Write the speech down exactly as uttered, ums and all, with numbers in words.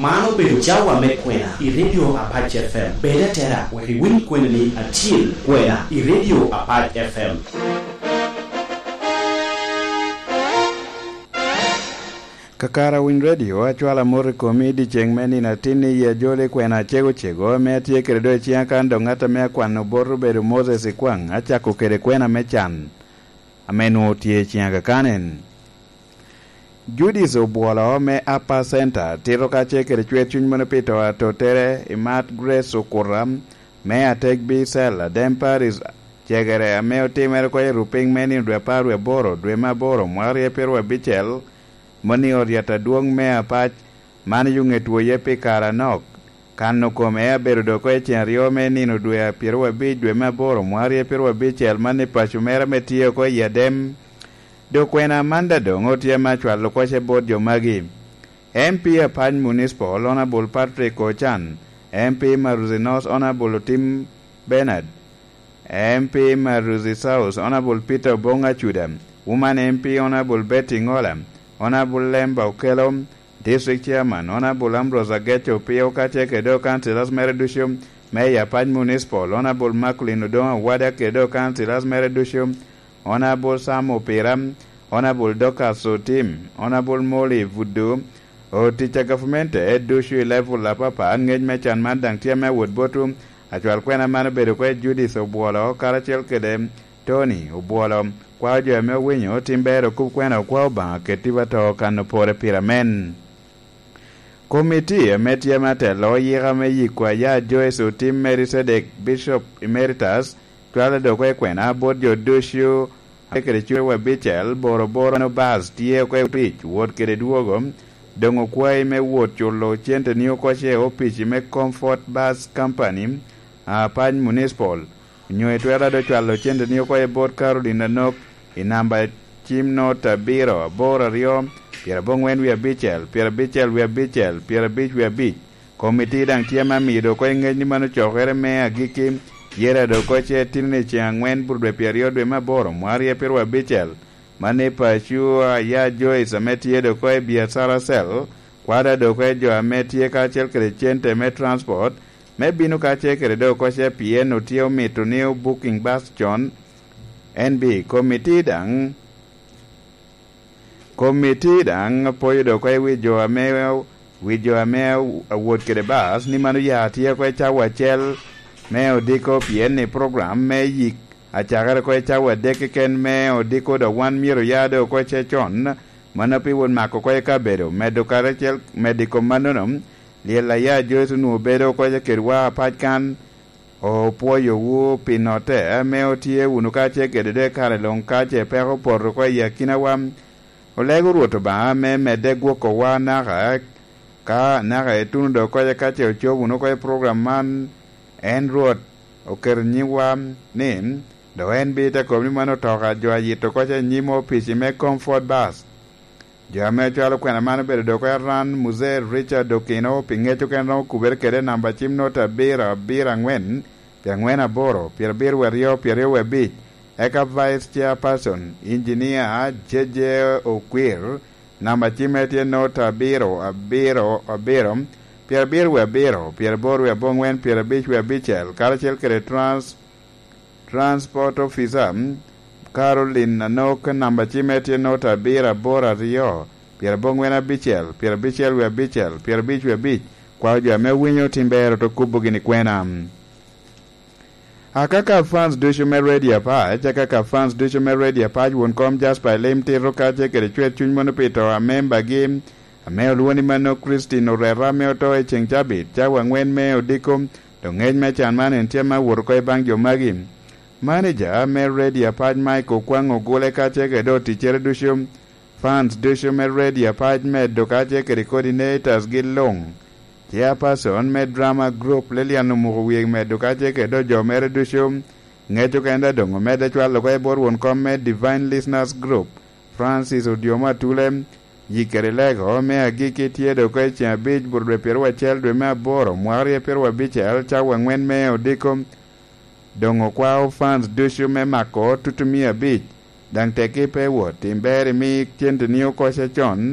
Man obedo cawa me kwena i Radio Apac F M. Bed atera wek iwiny kweni ni acil kwena i Radio Apac F M. Kakara Winy Radio, acwalo amot i komi i dyeceŋ me nino atin i ajoli kwena acego cego ame atye kede do i ciŋa kan dok ŋat ame akwano bot obedo Moses Ikwaŋ, acako kede kwena me can ame nwoŋo tye i ciŋa kakanen. Judith Obwolo me Upper Center tito kacel kede cwer cuny mono pi to atottere i Mat Grace Okuta me Atek B Cell, Adem Parish, cegere ame otimere oko i Rupiny me nino dwe apar wie aboro dwe me aboro mwaka aryo pyeraryo abicel, moni oryet adwoŋ me Apac, man yo ŋe twoye pi kare anok. Kano kome abedo dok oko i cen aryo me nino dwe a pyeraryo abic dwe me aboro mwaka aryo pyeraryo abicel man i paco mere ame tye oko i Adem. Dok kwena Amanda doŋ otye ame acwalo oko ce bot jo magi. M P Apac Municipal, Honourable Patrick Ochan, M P Maruzi North, Honourable Otim Bernard, M P Maruzi South, Honourable Peter Obong Acuda, Woman M P, Honourable Betty Ngola, Honourable Lemba Okello, District Chairman, Honourable Ambrose Ageco Opio, kacel kede councillors mere ducu me i Apac Municipal, Honourable Macklin Odongo Awada kede councillors mere ducu, Honourable Sam Opira, Honourable Dorcas Otim, Honourable Molly Buddu, otic a gavumenti ducu i level apapat, ŋec me can man daŋ tye ame awot botwu. Acwal kwena man obedo oko i Judith Obwolo karacel kede Tony Obwolo. Kwao jo ame owinyo tim ber okub kwena, okwao Obaŋa keti bato kan opore pire amen. Komiti ame tye me atelo oyika me yiko aya Joyce Otim Melkisedek, Bishop Emeritus, cwale dok oko i kwena bot jo ducu, kede cure abicel, boro boro no bas tye oko i opic, wot kede dwogo, doŋ okwayi me wot culo cente ni oko ce opici me Comfort Bus Company, Apac Municipal, onyo itwero ado cwalo cente ni oko i bot Caroline Anok i namba cim nota abiro aboro aryo, pyerabongwen wie abicel, pyerabicel wie abicel, pyerabic wie abic. Komiti daŋ tye ame amido oko i ŋec ni mano cokere me agikki, yere ado oko ce tini ni ceŋ angwen bur dwe pyeraryo dwe me aboro mwaka aryo pyeraryo abicel, man i paco aya Joyce ame tye dok oko i biacara cell, kwada dok oko i jo ame tye kacel kede cente me transport, me bino kacel kede dok oko ce pien otye omito ni booking bus con. N B, komiti daŋ, komiti daŋ poyo dok oko i wi jo ame, wi jo ame awot kede bus, ni mano ya tye oko i cawa acel me odiko, pien ni program me yik acakere oko i cawa adek keken me odiko, dok wan myero oya dok oko ce con, mano pi wot mako oko i kabedo, medo karacel, medo i kom mannono, lyel aya Joyce onwoŋo bedo oko ce kedwa apac kan, opwoyowu pi notte ame otye wunu kacel kede de kare luŋ ka ce peko opoto oko i akinawa. Olego Rwot Obaŋa me medde gwokowa naka, ka naka ituno dok oko ce ka ce ocob wunu oko i program man, en Rwot oketo nyimwa ni, dok en bi te kobo ni mano otoka jo ayito oko ce nyim opici me Comfort Bus. Jo ame ocwalo kwena man obedo dok oko Eran Muzee Richard Okino, pi ŋec okene romo kubere kede namba cim nota abiro abiro angwen, pyerangwen aboro, pyerabiro wie aryo, pyeraryo wie abic, eka Vice Chairperson, Engineer J J Okwir, namba cimme tye nota abiro abiro abiro, pyerabiro wie abiro, pyeraboro wie abongwen, pyerabic wie abicel, karacel kede Trans-, Transport Officer, Caroline Anok, namba cimme tye nota abiro aboro aryo, pyerabongwen abicel, pyerabicel wie abicel, pyerabic wie abic, kwao jo ame owinyo tim ber oto kubo gini kwena. Akaka fans ducu me Radio Apac, akaka fans ducu me Radio Apac, won kom Jasper Elim Tito kacel kede cwer cuny mono pi to a membagi, ame olwoŋo ni mano Christine Orera ame oto i ceŋ cabit, cawa angwen me odiko, dok ŋec me can man en tye ame awot oko i baŋ jo magi. Maneja me Radio Apac Mike Okwaŋ Ogule kacel kede oticcere ducu, fans ducu me Radio Apac medo kacel kede coordinators gi luŋ. Chairperson me drama group Lilian Omuko Wiye medo kacel kede jo mere ducu. Ŋec okene doŋ omedde cwalo oko i bot won kom me Divine Listeners Group, Francis Odiomo Atule. Yikkere lego me agikki tye dok oko i ceŋ abic bur dwe pyeraryo acel dwe me aboro mwaka aryo pyeraryo abicel cawa angwen me odiko. Doŋ okwao fans ducu me mako tutumia abic, daŋ tekki pe wot, tim ber imi cente ni oko ce con,